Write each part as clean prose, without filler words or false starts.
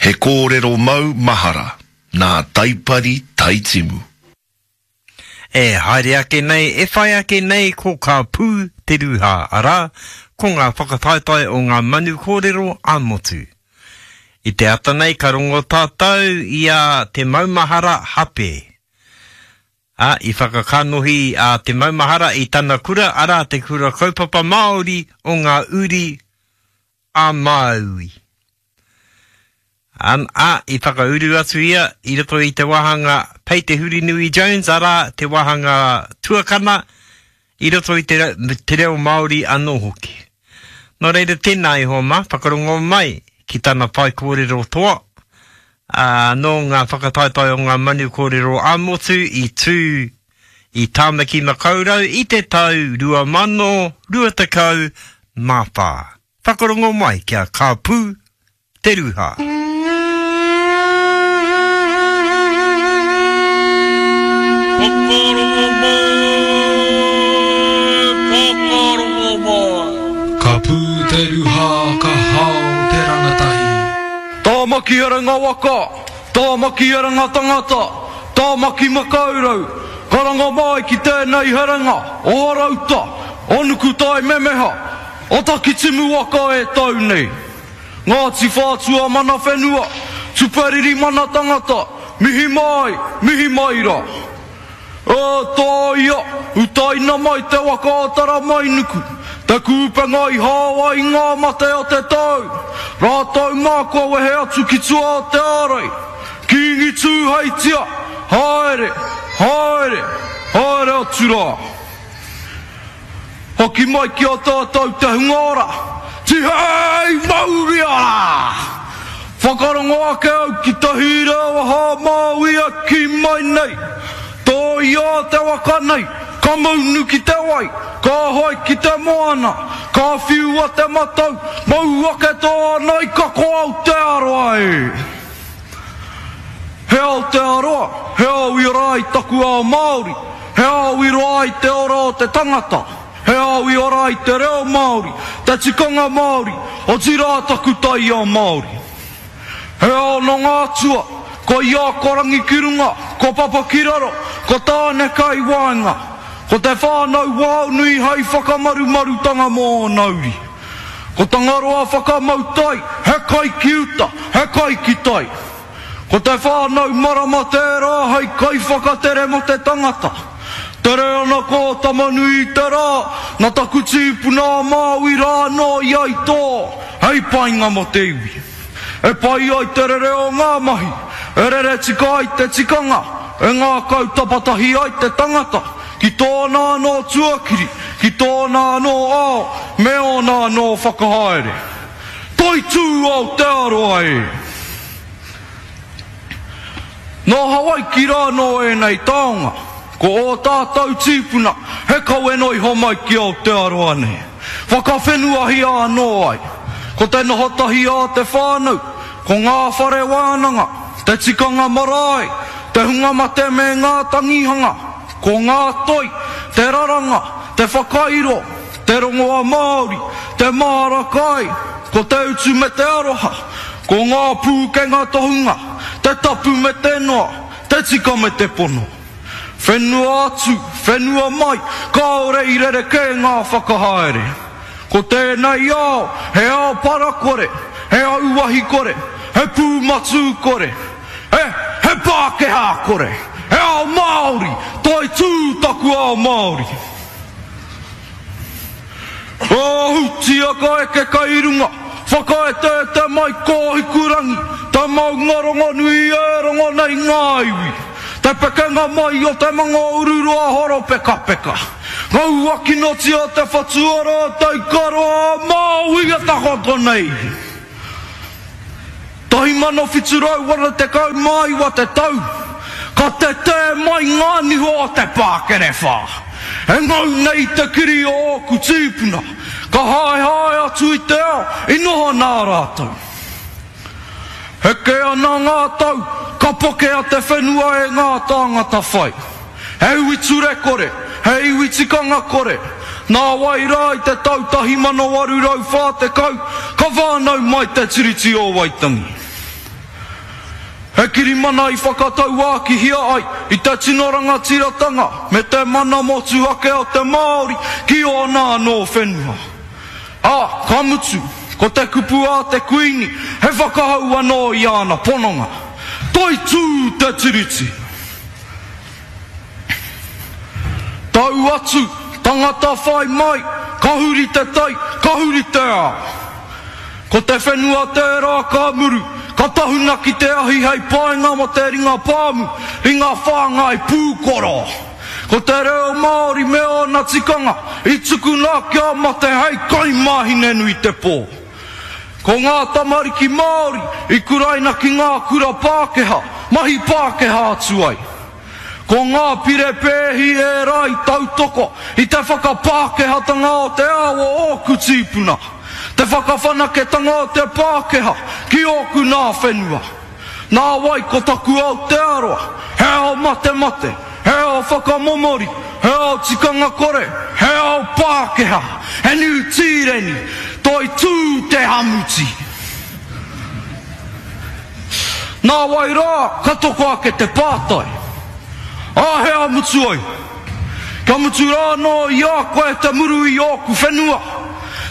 He kōrero mau mahara nā Taipari Taitimu. E haere ake nei, e whai ake nei ko Ka Pū Te Rūhā, arā, ko ngā whakataetae o ngā manu kōrero ā-motu. I te ata nei ka rongo tātou i a Te Maumahara Hape. Ā, i whakakanohi a Te Maumahara i tana kura, arā, te Kura Kaupapa Māori o ngā Uri a Māui. An, ā, i whakauru atu ia i roto i te wāhanga Pei Te Hurinui Jones, arā, te wāhanga tuakana, i roto i te, te reo Māori anō hoki. Nō reira, tēnā e hoa mā, whakarongo mai ki tana whaikōrero toa, ā, nō ngā whakataetae o ngā manu kōrero ā-motu i tū i Tāmaki Makaurau i te tau 2024. Whakarongo mai kia ka pū te ruha. Whakarongo mai, whakarongo mai. Ka pū te ruha, ka hao te rangatahi. Tāmaki Herenga Waka, Tāmaki Herenga Tangata, Tāmaki Makaurau, karanga mai ki tēnei herenga o Horouta, o Nukutai Memeha, o Takitimu waka e tau nei. Ngāti Whātua mana whenua, Tuperiri mana tangata, mihi mai, mihi mai rā. E tāia, utaina mai te waka o Taramainuku, te kūpenga i hao ai ngā mate o te tau, rātou mā kua wehe atu ki tua o te ārai. Kīngi Tūheitia, haere, haere, haere atu rā. Hoki mai ki a tātou te hunga ora, tihei mauri ora! Whakarongo ake au ki te hīra o Hā Māui e kī mai nei, Tōia te waka nei, ka maunu ki te wai, ka hoe ki te moana, ka whiua te matau, mau ake tōna ika ko Aotearoa e! He Aotearoa, he ao i ora ai taku ao Māori, he ao i roa ai te ora o te tangata, he ao i ora ai te reo Māori, te tikanga Māori, otirā taku taiao Māori. He ao nō ngā atua, ko ia ko Rangi ki runga, ko Papa ki raro, ko Tāne kai waenga, ko te whānau Waonui hai whakamarumarutanga mō ōna uri. Ko Tangaroa whakamau tai, he kai ki uta, he kai ki tai. Ko te whānau marama tērā hei kaiwhakatere mō te tangata. Tere ana ko Tamanui i te rā, na taku tīpuna a Māui rā anō ia i tō, hei painga mō te iwi. E pai ai te rere o ngā mahi, e rere tika ai te tikanga, e ngākau tapatahi ai te tangata ki tōna anō tuakiri, ki tōna anō ao me ōna anō whakahaere. Toitū Aotearoa e! Nō Hawaiki rā nō ēnei taonga, ko ō tātou tīpuna he kawe noa iho mai ki Aotearoa nei. Whakawhenuahia anō ai. Ko te noho tahi a te whānau, ko ngā whare wānanga, te tikanga marae, te hunga mate me ngā tangihanga, ko ngā toi, te raranga, te whakairo, te rongoa Māori, te māra kai, ko te utu me te aroha, ko ngā pūkenga tohunga, te tapu me te noa, te tika me te pono. Whenua atu, whenua mai, kāore i rerekē ngā whakahaere. Ko tēnei ao, he ao parakore, he auahi kore, he pūmatū kore, he, he Pākehā kore, he ao Māori, toitū taku ao Māori. Ahutia ka eke kai runga, whakaeteete mai ko Hikurangi, te maunga rongonui e rongo nei ngā iwi. Te pekenga mai o te manga ururoa horopekapeka. Ngaua kinotia te whatuara o te ikaroa a Māui e takoto nei. 1789 te tau, ka tetē mai ngā niho o te pākerewhā. E ngau nei te kiri o ōku tīpuna, ka haehae atu i te ao i noho nā rātou. Heke ana ngā tau, ka pokea te whenua e ngā tāngata whai. He iwi ture kore, he iwi tikanga kore. Nāwai rā i te tau 1840 ka whānau mai te Tiriti o Waitangi. He kirimana i whakatauākihia ai i te tino rangatiratanga me te mana motuhake o te Māori ki ōna anō whenua. Ā, ka mutu, ko te kupu a te Kuini he whakahau anō i āna pononga, Toitū te Tiriti! Tau atu, tangata whai mai, ka huri te tai, ka huri te ao. Ko te whenua tērā ka muru, ka tahuna ki te ahi hei painga mō te ringa pāmu, ringa whāngai pūkoro. Ko te reo Māori me ōna tikanga i tukuna kia mate hei kai mā Hinenuitepō. Ko ngā tamariki Māori i kuraina ki ngā kura Pākehā, mahi Pākehā atu ai. Ko ngā pire pēhi ērā i tautoko i te whakapākehātanga o te ao o ōku tīpuna, te whakawhanaketanga o te Pākehā ki ōku nā whenua. Nāwai ko taku Aotearoa, he ao matemate, he ao whakamomori, he ao tikanga kore, he ao Pākehā, he Niu Tīreni, toitū te hamuti. Nāwai rā ka toko ake te pātai, Āhea mutu ai? Kia mutu rā anō i a koe te muru i ōku whenua,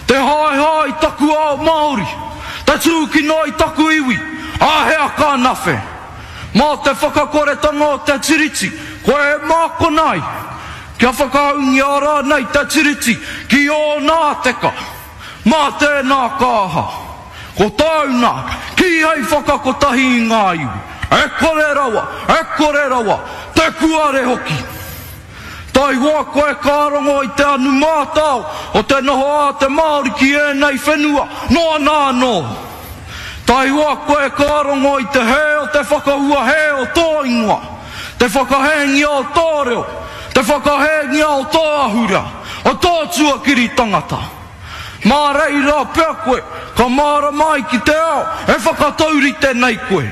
te haehae i taku ao Māori, te tūkino i taku iwi, āhea ka nawhe? Mā te whakakoretanga o te Tiriti koe e mākona ai, kia whakahaungia rānei te Tiriti ki ōna teka. Mā tēnā ka aha? Ko tāu nā, kīhai whakakotahi i ngā iwi, e kore rawa, e kore rawa, te kuare hoki. Taihoa koe ka rongo i te anu mātao o te noho a te Māori ki ēnei whenua noa nā anō. Taihoa koe ka rongo i te hē o te whakahua hē o tō ingoa, te whakahēngia o tō reo, te whakahēngia o tō ahurea, o tō tuakiri tangata. Mā reira pea koe ka mārama ai ki te ao e whakataurite nei koe.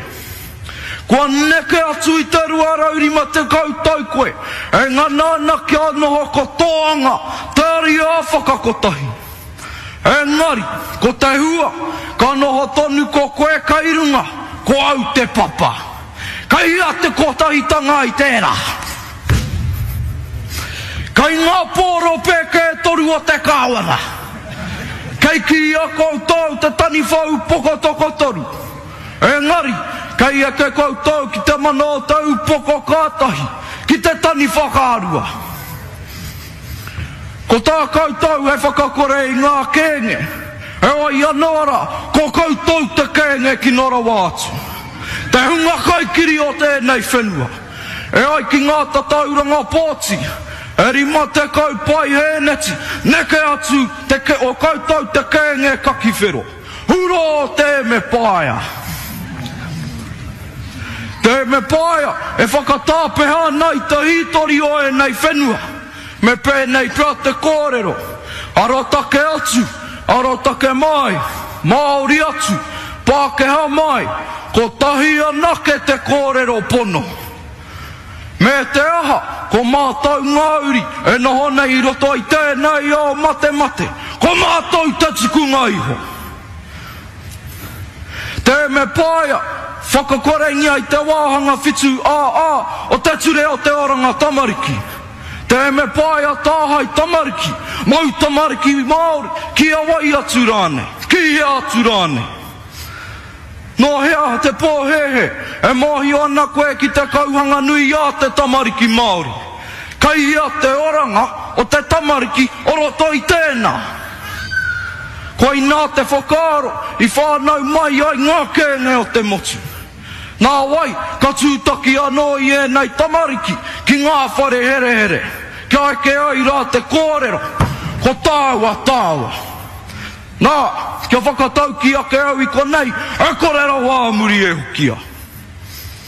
Kua neke atu i te 250 tau koe e ngana ana kia noho ko tō anga te ariā whakakotahi. Engari, ko te hua, ka noho tonu ko koe kei runga, ko au te papa. Kei hea te kotahitanga i tērā? Kei ngā pōro pēke e toru o te kāwana. Kei kīia koutou te taniwha upoko tokotoru. Engari, kei eke koutou ki te mana o te upoko ka tahi, ki te taniwha ka rua. Ko tā koutou he whakakore i ngā kēnge, heoi anō rā, ko koutou te kēnge kino rawa atu. Te hunga kaikiri o tēnei whenua. E ai ki ngā tatauranga pōti, e 50 paihēneti neke atu te o koutou te kēnge kakiwhero. Hurō te Mepaea! Te Mepaea e whakatāpeha ana i te hītori o ēnei whenua. Me pēnei pea te kōrero, arotake atu, arotake mai, Māori atu, Pākehā mai, kotahi anake te kōrero pono. Me te aha, ko mātou ngā uri e noho nei i roto i tēnei ao matemate, ko mātou te tukunga iho. Te Mepaea, whakakorengia i te wāhanga 7 AA o te Ture o te Oranga Tamariki. Te Mepaea tāhae tamariki, mau tamariki Māori, ki a wai atu rānei, ki hea atu rānei. Nō hea te pōhēhē e mōhio ana koe ki te kauhanga nui a te tamariki Māori? Kei hea te oranga o te tamariki o roto i tēnā? Koinā te whakaaro i whānau mai ai ngā kēnge o te motu. Nāwai, ka tūtaki anō i ēnei tamariki ki ngā whare herehere, kia eke ai rā te kōrero, ko tāua tāua. Nā, kia whakataukī ake au i konei, e kore rawa a muri e hokia.